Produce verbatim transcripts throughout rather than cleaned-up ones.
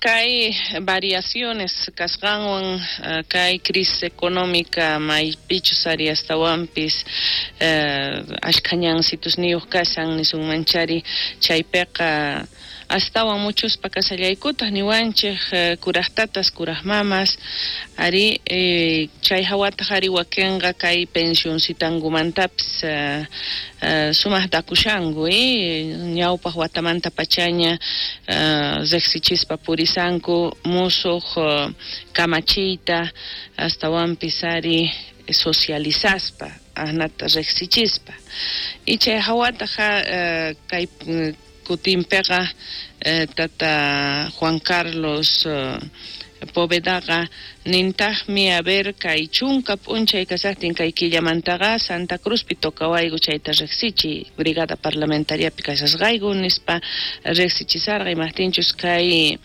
Kay variaciones kasqanwan kay crisis económica maypichus ari astawanpis ashkha ñansitusniyuq kashan nisunmanchari chaypiqa astawan muchuspa kasallaykutaq niwanchik kuraqtatas kuraq mamas ari chay hawataq ari wakinqa kay pensioncitankumantapis sumaq dakushanku ñawpaq watamanta pachaña riqsichispa purisanku musuq kamachiyta astawanpis ari socializaspa ahnata riqsichispa y chay hawataq kay kutinpiqa tata Juan Carlos Povedaqa nintaqmi a ver kay chunka p'unchay kasaqtin kay killamantaqa Santa Cruzpi tocawayku chayta riqsichiy brigada parlamentariapi kashasqayku nispa riqsichisarqa imaqtinchus kay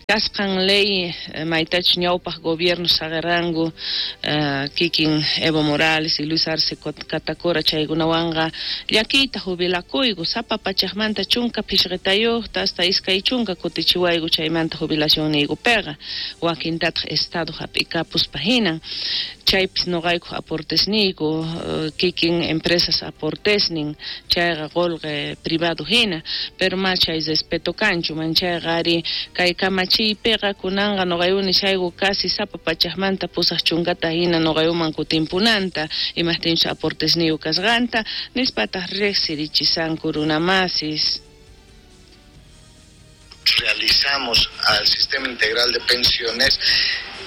kasqan ley maytachus ñawpaq gobierno saqirqanku kikin Evo Morales y Luis Arce Catacora chaykunawanqa llakiyta jubilakuyku sapa pachaqmanta chunka phishqitayuqta hasta iskay chunka kutichiwayku chaymanta jubilacionniykupiqa wakintataq Estado hap'ikapuspa hinan chaypis noqayku aportesniyku kikin empresas aportesnin chayqa qolqe privado hina pero ma chay respeto kanchu manchayqa ari kay kamachiypiqa kunanqa noqayku nishayku casi sapa pachaqmanta pusaq chunkata hina noqaykuman kutinpunanta imaqtinchus aportesniyku kasqanta nispataq riqsirichisanku runamasis. Realizamos al sistema integral de pensiones,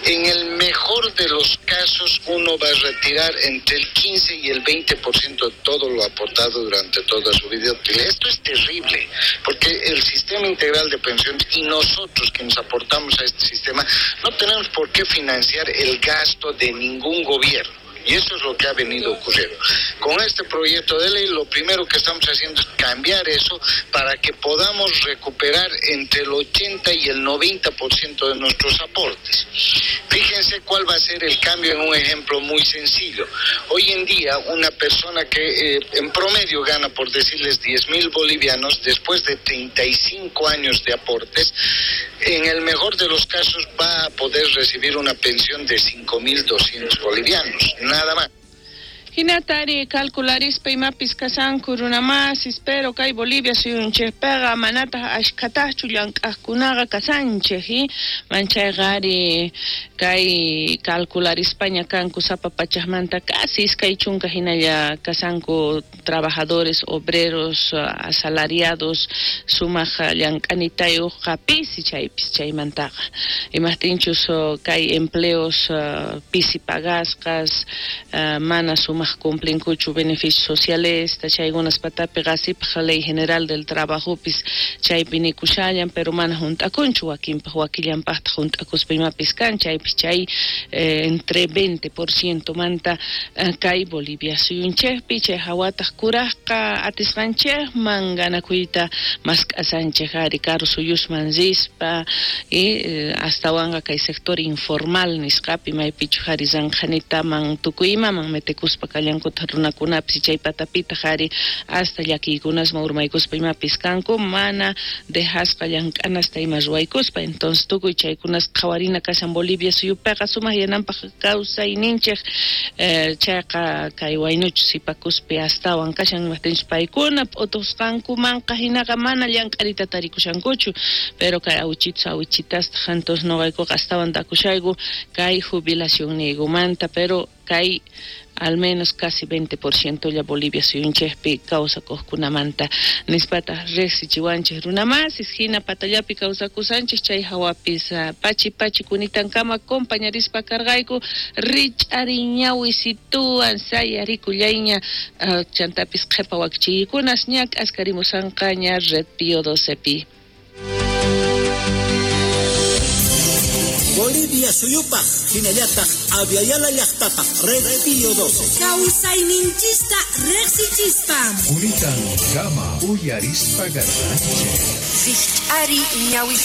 en el mejor de los casos uno va a retirar entre el quince y el veinte por ciento de todo lo aportado durante toda su vida útil. Esto es terrible, porque el sistema integral de pensiones y nosotros que nos aportamos a este sistema no tenemos por qué financiar el gasto de ningún gobierno. Y eso es lo que ha venido ocurriendo. Con este proyecto de ley, lo primero que estamos haciendo es cambiar eso para que podamos recuperar entre el ochenta y el noventa por ciento de nuestros aportes. Fíjense cuál va a ser el cambio en un ejemplo muy sencillo. Hoy en día, una persona que eh, en promedio gana, por decirles, diez mil bolivianos, después de treinta y cinco años de aportes, en el mejor de los casos va a poder recibir una pensión de cinco mil doscientos bolivianos, nada más. Hinatari calcularispa imapis kasanku runamasis, pero kay Bolivia suyunchikpiqa manataq ashkhataqchu llank'aqkunaqa kasanchik, manchayqa ari kay calcularispaña kanku sapa pachaqmanta casi iskay chunka hinalla kasanku trabajadores, obreros, asalariados, sumaq llank'anitayuqqa pisi chaypis chaymantaqa imaqtinchus kay empleos pisi pagasqas mana sumaq cumplinkuchu beneficios sociales chaykunas patapi qasipaq ley general del trabajopis chaypi nikushallan pero mana junt'akunchu wakinpaq wakillanpaqtaq junt'akuspa imapis kan chaypis chay eh, entre veinte por ciento manta kay Bolivia suyunchikpi chay hawataq kuraqqa atisqanchikman ganakuyta mask'asanchik ari karu suyusman rispa y eh, astawanqa kay sector informal nisqapi maypichu ari ranqhanitaman tukuy imaman metekuspa kallankuta runakunapis chay patapitaq ari hasta llakiykunasman urmaykuspa imapis kanku mana dejasqa llank'anasta ima ruwaykuspa entonces tukuy chaykunas qhawarina kashan Bolivia suyupiqa sumaq yananpaq kawsayninchik eh, chayqa kay waynuchu sipakuspi astawan kashan imaqtinchus paykuna p'utusqankumanqa hinaqa mana llank'arita tarikushankuchu pero kay awichitus awichitastaq entonces noqaykuqa astawan takushayku kay jubilacionniykumanta pero kay al menos casi veinte por ciento ya Bolivia suyunchikpi kawsakuqkunamanta nispataq riqsichiwanchik runamasis hina patallapi kawsakusanchik chay hawapis pachi pachi kunitankama compañarispa karqayku rich'ariñawisituwan sayarikullayña chantapis qhipa wakichiykunas ña k'askarimusanqaña Red Pío docepi. Bolivia suyupaq hinallataq Aviala llaqtapaq Red Pío doce. Kawsayninchista riqsichispa. Kunitan kama uyarispa garranchik. Rich'ari ñawisi.